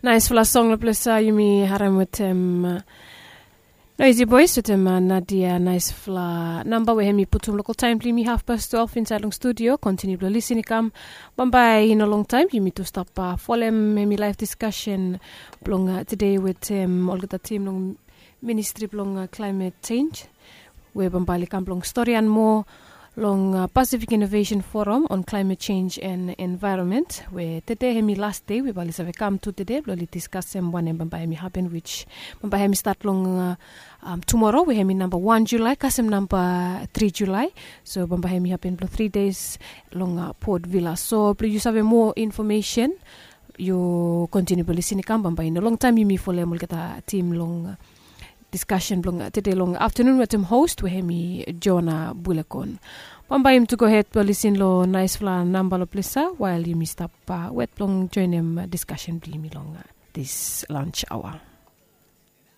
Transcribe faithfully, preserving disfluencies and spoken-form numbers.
Naispela song long ples ya yumi harim wetem Noisy Boys wetem Nadia. Naispela namba we hem i putum lokal taim blong yumi hafpas twelve insaed long studio. Kontiniu blong lisin i kam. Bambae i no longtaim yumi tu stap folem hem i laif diskasen blong tede wetem olgeta tim long ministri blong klaimet senj, we bambae oli kam blong storian moa long Pacific Innovation Forum on Climate Change and Environment, we tede hem i las dei we bae oli save kam tu tede blong oli diskasem wanem bambae hem i hapen, wich bambae hem i stat long tumora we hem i namba wan Julai kasem namba tri Julai. So bambae hem i hapen blong tri deis long Port Vila. So blong yu save moa infomesen, yu kontiniu blong lisin i kam. Bambae i no longtaim yumi folem olgeta tim long diskasen blong tede long aftanun wetem host we hem i Jona Bulekon. Bambae yumi tu gohed blong lisin long naispela namba long ples ya wael yumi stap wet blong joenem diskasen blong yumi long dis lans aoa.